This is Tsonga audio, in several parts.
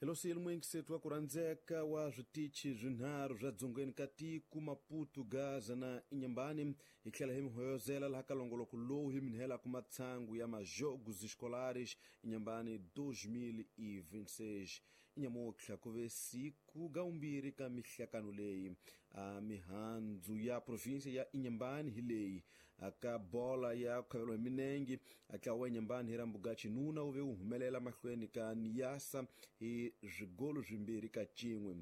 Helosile muinkisethu wa ku rhandzeka wa switichi swinharhu swa dzongeni ka tiko Maputo, Gaza na Inhambane. Hi tlhela hi mi hoyozela laha ka longoloko lowu hi mi nhelaka matshangu ya majogos escolares Inhambane 2026. Inyamutlha ku ve siku gaumbirhi ka mihlakano leyi. A mihandzu ya provinsia ya Inhambane hi leyi. Ka bola ya khavelo hi minengi ntlawa wa Inhambane hi Rambuga Chinuna wu ve wu humelela mahlweni ka Niassa hi swigolo swimbirhi ka cin'we.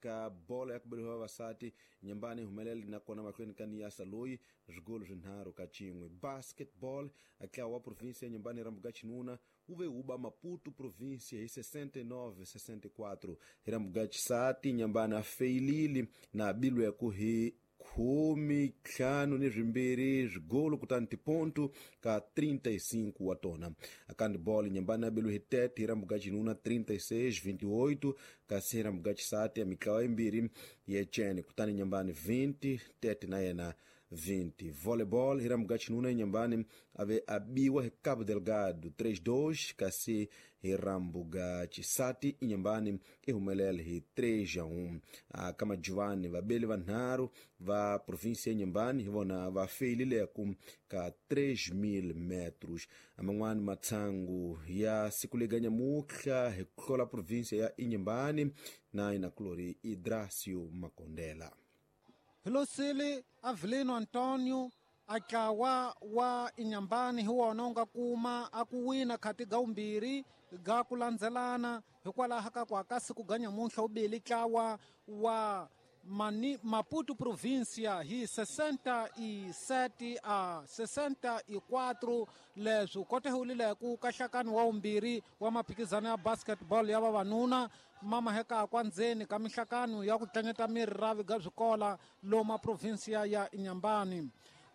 Ka bolo ya ku beriwa vavasati Inhambane humelele nakona mahlweni ka Niassa loyi swigolo swinharhu ka cin'we. Basketball ntlawa wa provinsia ya Inhambane Rambuga Chinuna wu ve wu ba Maputo provinsia hi 69-64. Hi Rambuga Xisati Inhambane a feyilile na bilweku hi 52 swigolo kutani tiponto ka 35 wa tona. Handball Inhambane abelwe hi 30 hi Rambuga Chinuna 36-28, kasi hi Rambuga Xisati ya mitlawa yimbirhi yecene kutani Inhambane 20 30 na yena 20. Volleyball hi Rambuga Chinuna Inhambane ave abiwa hi Cabo Delgado 3-2, kasi hi Rambuga Xisati Inhambane i humelele hi 3-1. Ka majuvani vabeli vanharhu va provinsia ya Inhambane hi vona va feyilileku ka 3000 metros. Man'wani matshangu ya siku lega nyamutlha hi ku hlola provinsia ya Inhambane na inakulori Idracio Makondela. Hilosile Avelino Antonio atlawa wa Inhambane hi wona u nga kuma a ku wina khati ga umbirhi ga ku landzelana hikwalaho ka ku aka siku ga nyamuntlha wu bile ntlawa wa Maputo provincia hi 67 a 64. Leswi kotehulileke ka nhlakano wa vumbirhi wa maphikizano ya basketball ya vavanuna mamaheka kwa ndzeni ka mihlakano ya ku tlanyeta miri ra viga swikola loma provinsia ya Inhambane.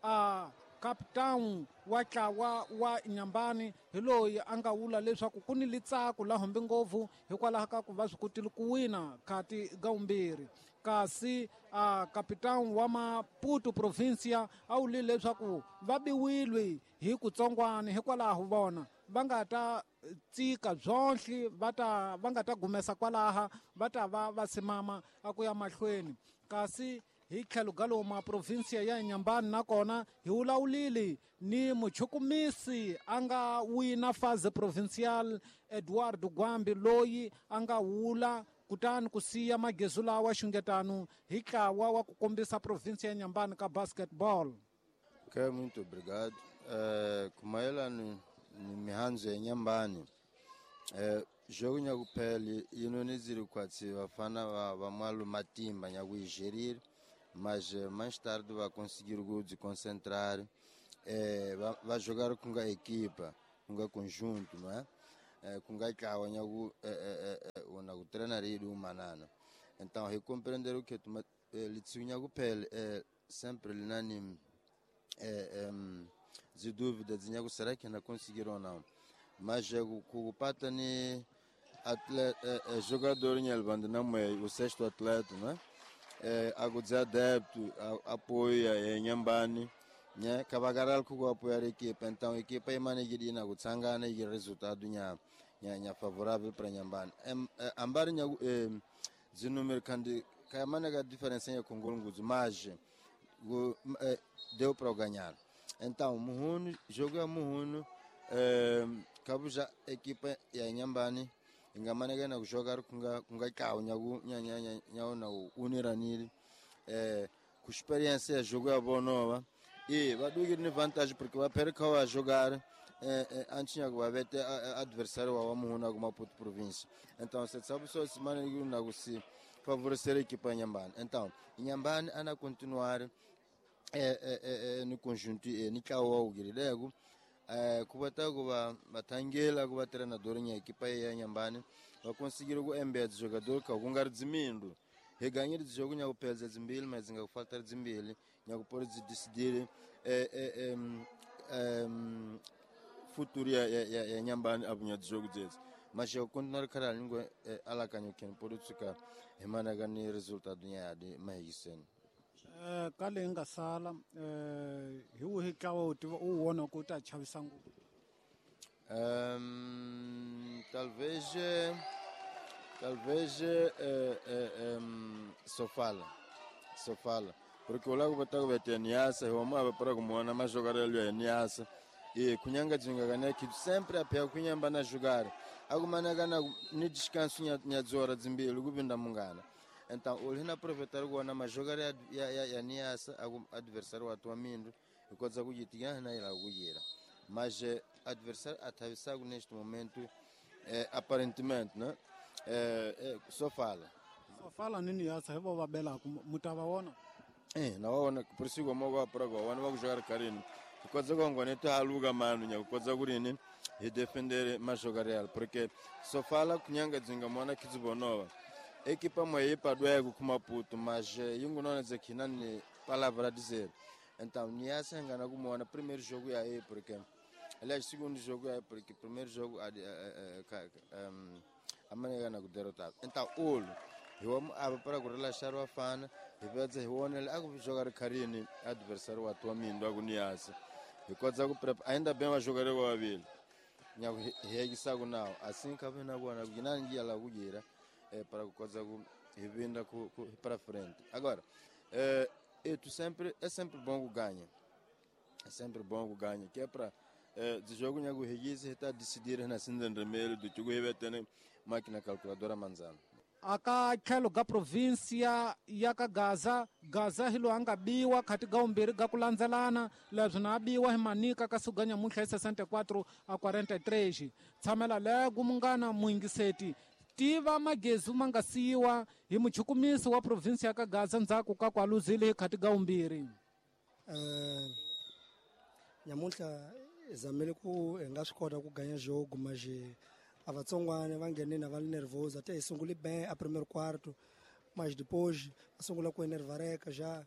A captain wa ntlawa wa Inhambane hi loyi a nga vula leswaku ku ni litsako la humbi ngopfu hikwalaho ka ku va swi kotile ku wina khati ga vumbirhi. Kasi a captain wa Maputo provincia a wulile leswaku va biwile hi kutsongwana hikwalaho vona va nga ta tsika byonhle va ta va nga ta gumesa kwalaha va ta va va simama a ku ya mahlweni. Kasi hi tlhelo ga loma provinsia ya Inhambane nakona hi wulawulile ni muchukumisi a nga wina fase provincial Eduardo Gwambi loyi a nga wula kutani ku siya magezu lawa xungetano hi ntlawa wa ku kombisa provinsia ya Inhambane ka basketball. Ok, muito obrigado. Kumayelana ni mihandzu ya Inhambane, jogo nyakuphela inonizile kwatsi vafana va mwalo matimba nyakuigerir, mas mais tarde vai conseguir se concentrar, vai jogar com a equipa, com o conjunto, não é? Com a ntlawa nyaku na ku treinar ele umanana. Então recompreender o que litsiku nyakuphela sempre linani de dúvidas nyaku será que não conseguiram ou não, mas kupata ni atleta jogador nyalbando na o sexto atleta, não é? Agudza adepto apoia Inhambane, né? Kabagaral ku apoiar a equipa, então a equipa imanegirina kutsangana e resultado nya nya favorável para Inhambane. Ambari nya zinúmero kandi kayamana ka diferença ya kongolunguzu, mas deu para ganhar. Então muhunu jogo ya muhunu kabuja equipa ya Inhambane ingamaneka na kujogar kunga kawo nyaku nya nya nya na uniranile ku experiência ya jogo ya bonova e vaduki ni vantagem porque va perca a jogar antes nyaku va vete adversário wa muhuna ku Maputo província. Então se sabe só se mana na ku se favorecer a equipa ya Inhambane. Então Inhambane ana continuar no conjunto ni kawo ugirilego kubata kuba batangela kuba treinador nya equipa ya Inhambane va conseguir ku embed jogador ka kunga dzimindo he ganhar de jogo nya kupedza dzimbili mas nga kufaltar dzimbili nya kupor dzi decidir futuro ya Inhambane abunya jogo dzedzi mas eu continuar caralho ngo alakanyo ken por tsuka hemana ga ni resultado nya de mahisen. Ka leyi nga sala hi wihi ntlawa u tiva u wona ku ta chavisa ngopfu? Talvez Talvez Sofala. Sofala. Porque o lago botako bete Niassa, o mapa para como na mais jogar ali é Niassa. E kunyanga jinga kana que sempre a pé kunyamba na jogar. Alguma na gana ni descanso nya zora zimbili kubinda mungana. Então, o hina aproveitar o na mais jogar ya Niassa, algum adversário atualmente, e coisa que tinha na ila kuyira. Mas adversário atravessado neste momento, aparentemente, né? Sofala. Sofala nini yasa hivo vabela mutavaona? Nawaona por isso como eu para agora, não vou jogar carinho. Coisa com quando tu aluga mano, nya coisa gurini e defender mais jogar real, porque Sofala kunyanga zinga mwana kizibonova. Equipa moe para doego com Maputo, mas yungu não é que não palavra a dizer. Então, Niassa engana como no primeiro jogo aí, porque aliás, segundo jogo é porque primeiro jogo a maneira na derrotado. Então, olho, eu amo para relaxar o afana, e vai dizer, olha, eu jogar carinho adversário atualmente do Niassa. E coisa ainda bem vai jogar o Avil. Nyago regisago não, assim que vem na boa, na guinangia lá guira, para coisa e vinda para frente. Agora, é sempre bom que ganha. É sempre bom que ganha, que é para de jogo nyago regise está decidir na cinza vermelho do que o tem máquina calculadora manzana. Aka tlhelo ga província ya ka Gaza, Gaza hi loyi a nga biwa khati ga vumbirhi ga ku landzelana, leswi na a biwa hi Manika ka siku ga nyamuntlha hi 64-43. Tshamela lego munghana muyingiseti, tiva magezi ma nga siyiwa hi muchukumisi wa província ya ka Gaza ndzhaku ka ku aluzile hi khati ga vumbirhi. Nyamuntlha hi zamile ku hi nga swi kota ku ganya jogo mas a vatsongwana va nghenile va li nervoso até hi sungule bem a primeiro quarto, mas depois va sungula ku enervareka já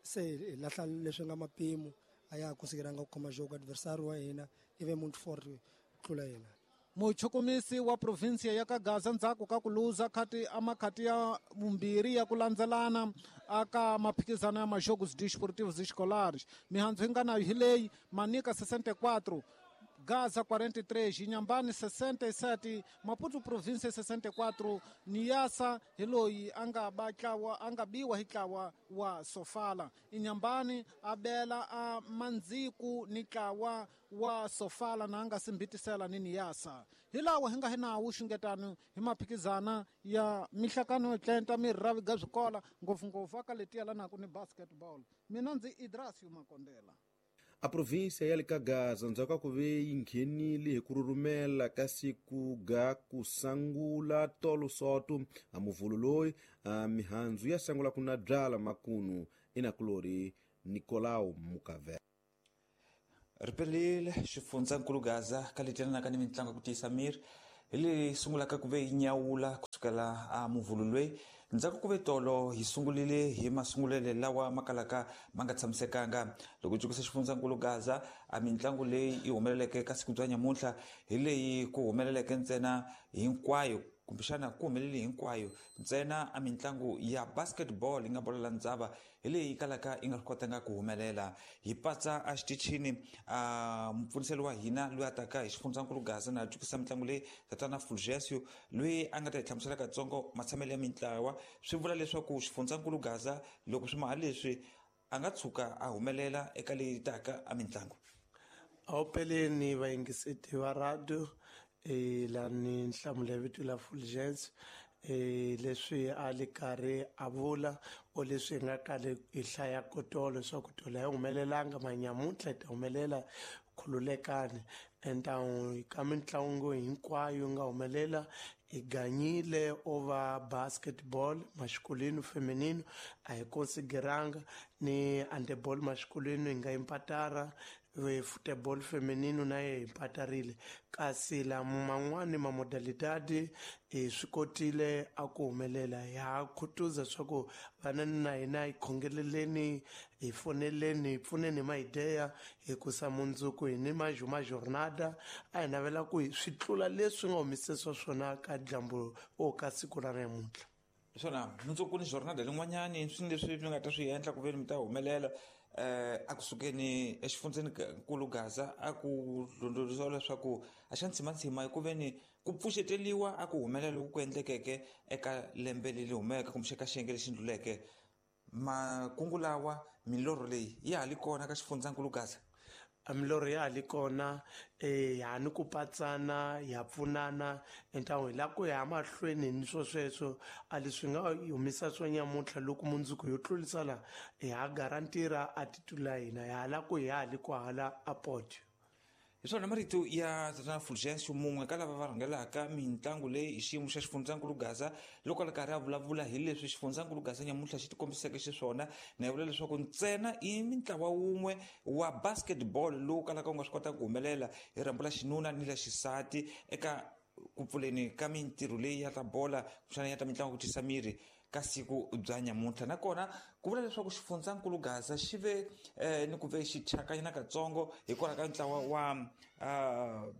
se hi lahla leswi nga mapimo a ya ha consideranga ku khoma jogo. Adversário wa hina i ve muito forte ku tlula hina. Muchukumisi wa província ya ka Gaza ndzhaku ka ku luza khati a makhati ya vumbirhi ya ku landzelana aka maphikizano ya majogos desportivos escolares. Mihandzu hi nga nayo hi leyi: Manika 64, Gaza 43, Inhambane 67, Maputo província 64, Niassa hi loyi a nga ba tlawa a nga biwa hi tlawa wa Sofala. Inhambane a bela a Mandziku ni tlawa wa Sofala na nga simbitisela ni Niassa. Hi lawa hi nga hi nawu xungetano hi maphikizana ya mihlakano yo tlenta mirhavi ga swikola ngopfungopfu aka leti yelanaka ni basketball. Mina ndzi Idrasio Makondela. A província ya le ka Gaza ndzhaku ka ku ve yi nghenile hi ku rhurhumela ka siku ga ku sangula tolo soto a muvhulo loyi a mihandzu ya sangula ku na byala makunu inakulori Nicolau Mukavela. Ripelile xifundzankulu Gaza ka leti ni mitlangu ya ku tiyisa miri hi leyi sungulaka ku ve yi nyawula kusukela a muvhulo loyi ndzhaku ku ve tolo hi sungulile hi masungulelo lawa ma kalaka ma nga tshamisekanga loko jukisa xifundzankulu Gaza a mitlangu leyi yi humeleleke ka siku bya nyamuntlha hi leyi ku humeleleke ntsena hinkwayo kumbexana ku humelele hinkwayo ntsena a mitlangu ya basketball yi nga bolo la ndzava hi leyi kalaka yi nga swi kotanga ku humelela. Hi patsa a xitichini a mupfuniseli wa hina loyi a taka hi xifundzankulu Gaza na jukisa mitlangu leyi tatana Fulgencio loyi a nga ta hi hlamusela katsongo matshamelo ya mintlawa. Swi vula leswaku xifundzankulu Gaza loko swi maha leswi a nga tshuka a humelela eka leyi taka a mitlangu. Awupeleni vayingiseti va radio, lani nhlamulo ya vito la Fulgence, leswi a li karhi a vula o leswi hi nga kale hi hlaya kotolo swa ku tolo a yi humelelanga manyamuntlha yi ta humelela, khululekani. Então ka mitlangu hinkwayo yi nga humelela hi ganyile over basketball masculino feminino a hi consideranga ni handeball masculino hi nga impatara, futebol feminino na ye hi mpatarile, kasi lama man'wani ma modalidade hi swi kotile a ku humelela. Ha khutuza swa ku vanani na hina hi khongeleleni, hi foneleni, hi pfuneni hi maideya hikusa mundzuku hi ni majuma jornada a hi navela ku swi tlula leswi nga humesisiwa swona ka dyambu o ka siku ra namuntlha. Swona mundzuku ni jornada lin'wanyani swi leswi mi nga ta swi endla ku veni mi ta humelela. a kusukeni exifundzeni nkulu Gaza a ku londoloziwa leswaku a xa ntsimantsima hi ku veni ku pfuxeteliwa a ku humelela loku ku endlekeke eka lembe leri humeke kumbe eka xiyenge lexi ndluleke. Makungu lawa, milorho leyi ya ha li kona ka xifundzankulu Gaza? Milorho ya ha li kona, ha ni ku patsana, ya pfunana entawu hi lava ku ya mahlweni ni swo sweswo. A leswi nga humisa swo nyamuntlha loko mundzuku yo tlurisa la, hi ha garantira a titula hina ya ha lava ku hi ha li kwahala a podio. Hi swona marito ya tatana Fulgencio, mun'we ka lava va rhangelaka mitlangu leyi hi xiyimo xa xifundzankulu Gaza, loko a ri karhi a vulavula hi leswi xifundzankulu Gaza nyamuntlha xi tikombiseke xiswona. Na yi vula leswaku ntsena i mintlawa wun'we wa basketball lowu kalaka wu nga swi kotaka ku humelela hi rhambu la xinuna ni la xisati eka ku pfuleni ka mintirho leyi ya ta bola kumbexana ya ta mitlangu ku tisa miri ka siku bya nyamuntlha. Nakona ku vula leswaku xifundzankulu Gaza xi ve ni ku ve xi thyakanyana katsongo hikwalaho ka ntlawa wa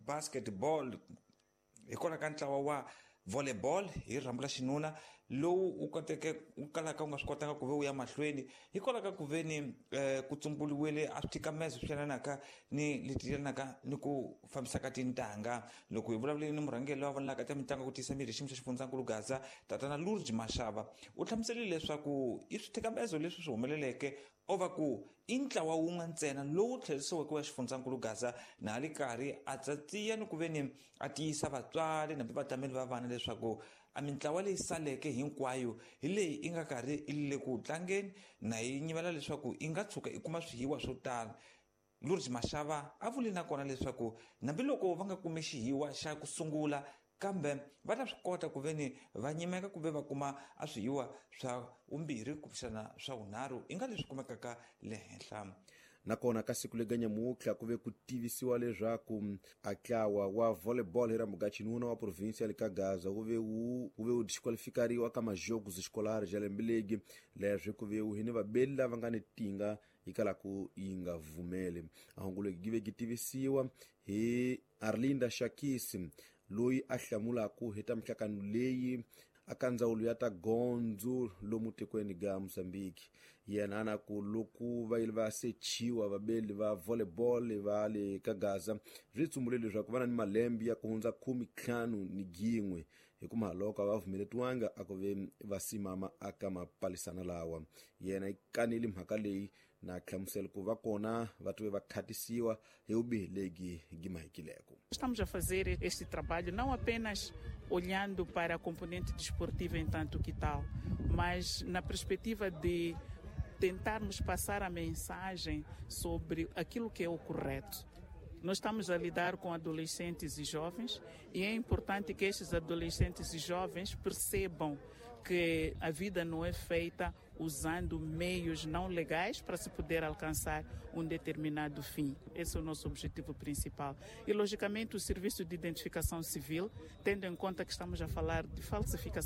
basketball, hikwalaho ka ntlawa wa volleyball hi rhambu la xinuna lowu wu koteke wu kalaka wu nga swi kotanga ku ve wu ya mahlweni hikwalaho ka ku ve ni ku tsumburiwile a swithikamezo swi yelanaka ni leti yelanaka ni ku fambisa ka tintangha. Loko hi vulavuleni ni murhangeri loyi a vonelaka ta mitlangu ku tiyisa miri xiyimo xa xifundzankulu Gaza, tatana Lourdes Mashava, u hlamuserile leswaku i swithikamezo leswi swi humeleleke o va ku i ntlawa wun'we ntsena lowu tlherisiweke wa xifundzankulu Gaza, na a li karhi a tsatsiya ni ku ve ni a tiyisa vatswari nambi vatameli va vana leswaku a mintlawa leyi saleke hinkwayo hi leyi i nga karhi i le ku tlangeni na yi nyimela leswaku i nga tshuka i kuma swihiwa swo tala. Lourdes Mashava a vuli nakona leswaku hambiloko va nga kumi xihiwa xa ku sungula, kambe va ta swi kota ku ve ni va nyimeka ku ve va kuma a swihiwa swa vumbirhi kumbexana swa vunharhu i nga leswi kumekaka le henhla. Nakona ka siku lega nyamuntlha ku ve ku tivisiwa leswaku a ntlawa wa volleyball hi rhambu ga xinuna wa provinsi ya le ka Gaza wu ve wu disqualifikariwa ka majogos escolares ya lembe legi. Leswi ku ve wu hi ni vabeli lava nga ni tinga yi kalaku yi nga vumeli. A hungu legi gi ve gi tivisiwa hi Arlinda Shakisi, loyi a hlamulaku hi ta mihlakano leyi aka ndzawulo ya ta gondzo lomu tikweni ga Mozambique. Yena ana ku loko va yile va sechiwa vabeli va volleyball va le ka Gaza, swi tsumbule leswaku va na ni malembe ya ku hundza 51, hi ku mahaloko a va vumeletiwanga a ku ve va simama aka mapalisana lawa. Yena yi kanile mhaka leyi na hlamusela ku va kona va tive va khatisiwa hi vubihi legi gi mahikileko. Estamos a fazer este trabalho não apenas olhando para a componente desportiva em tanto que tal, mas na perspectiva de tentarmos passar a mensagem sobre aquilo que é o correto. Nós estamos a lidar com adolescentes e jovens e é importante que estes adolescentes e jovens percebam que a vida não é feita usando meios não legais para se poder alcançar um determinado fim. Esse é o nosso objetivo principal. E, logicamente, o Serviço de Identificação Civil, tendo em conta que estamos a falar de falsificação